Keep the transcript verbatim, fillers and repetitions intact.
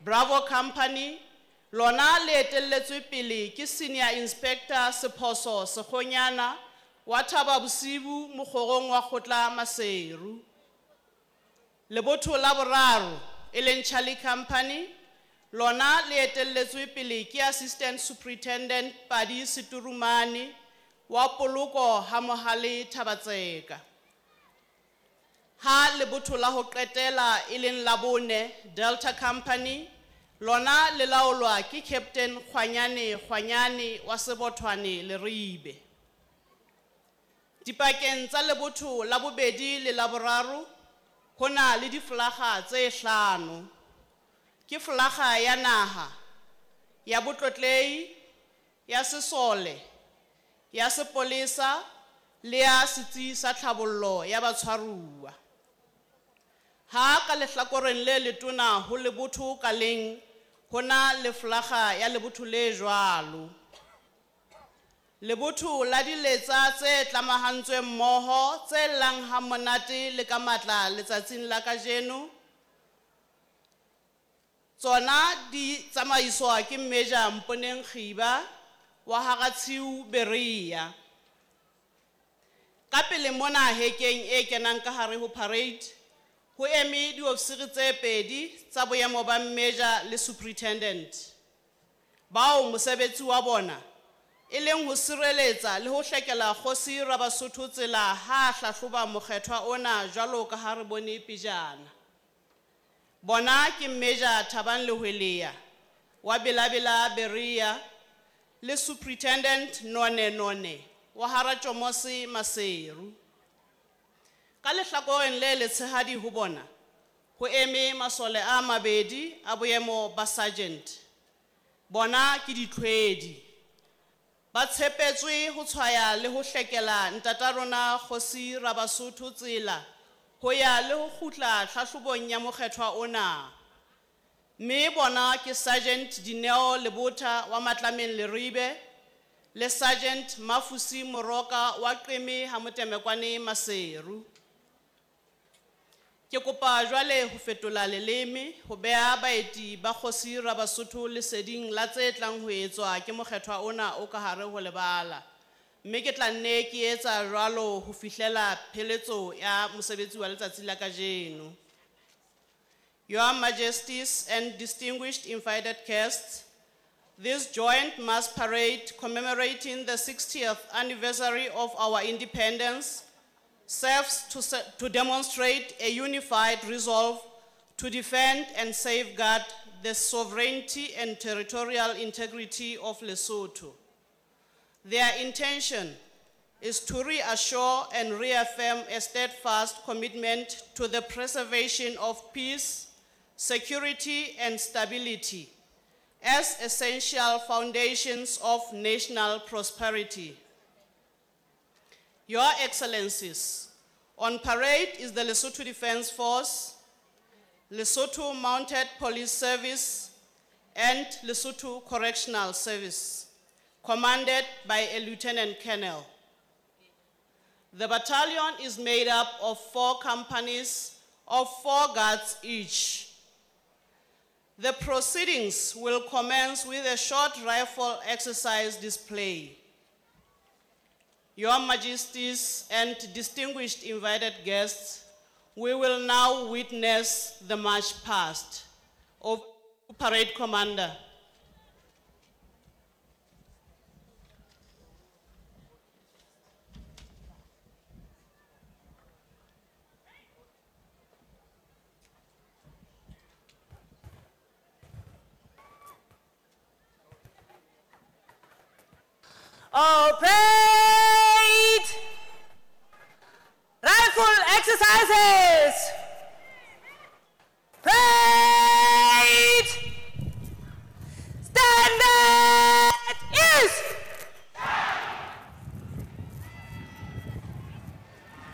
Bravo Company, lona le etelletswe pele ke Senior Inspector Sephoso Sekgonyana wa Thaba Bosiu mokgorong wa kgotla Maseru. Lebotho la boraro e leng Charlie Company, lona le etelletswe pele ke Assistant Superintendent Padi Seturumane wa Poloko ha Mohale Thabatseka. Ha lebotho la ho qetela e leng la bone Delta Company, lona le laolwa ke Captain Kgwanyane Kgwanyane wa Sebothwane Leribe. Dipakeng tsa lebotho la bobedi le la boraro ho na le difolaga tse hlano. Ke folaga ya naha, ya botlotlehi, ya sesole, ya sepolesa le ya setsi sa tlhabollo ya batshwaruwa. Ha ka lehlakoreng le letona ho lebotho ka leng ho na le folaga ya lebotho le jwalo. Lebotho la diletsa tse tlamahantsweng mmoho tse llang ha monate le ka matla letsatsing la kajeno, tsona di tsamaiswa ke Major Mponeng Kgiba wa Haratshiu Berea. Ka pele mona hekeng e kenang ka hare ho parade ho eme diofisiri tse pedi tsa boemo ba Major le Superintendent, bao mosebetsi wa bona e leng ho sireletsa le ho hlekela kgosi Rabasotho tsela ha hlahloba mokgethwa ona jwalo ka ha re bone pejana. Bona ke Major Thabang Lehweleya wa Belabela Berea le Superintendent None None wa Haratjomose Maseru. Ka lehlakoreng le letshehadi ho bona ho eme masole a mabedi a boemo ba sergeant. Bona ke ditlhwedi. Ba tshepetswe ho tshwaya le ho hlekela ntata rona kgosi Rabasotho tsela ho ya le ho kgutla tlhahlobong ya mokgethwa ona. Mme bona ke Sergeant Dineo Lebotha wa Matlameng Leribe le Sergeant Mafusi Moroka wa Qeme ha Motemekwane Maseru. Ke kopa jwale ho fetola leleme ho beha baeti ba kgosi Rabasotho leseding la tse tlang ho etswa ke mokgethwa ona o ka hare ho lebala. Mme ke tla nne ke etsa jwalo ho fihlela pheletso ya mosebetsi wa letsatsi la kajeno. Your Majesties and distinguished invited guests, this joint mass parade commemorating the sixtieth anniversary of our independence serves to, se-, to demonstrate a unified resolve to defend and safeguard the sovereignty and territorial integrity of Lesotho. Their intention is to reassure and reaffirm a steadfast commitment to the preservation of peace, security, and stability as essential foundations of national prosperity. Your Excellencies, on parade is the Lesotho Defense Force, Lesotho Mounted Police Service, and Lesotho Correctional Service, commanded by a Lieutenant Colonel. The battalion is made up of four companies of four guards each. The proceedings will commence with a short rifle exercise display. Your Majesties and distinguished invited guests, we will now witness the march past. Over to Parade Commander. Oh, parade! Rifle exercises!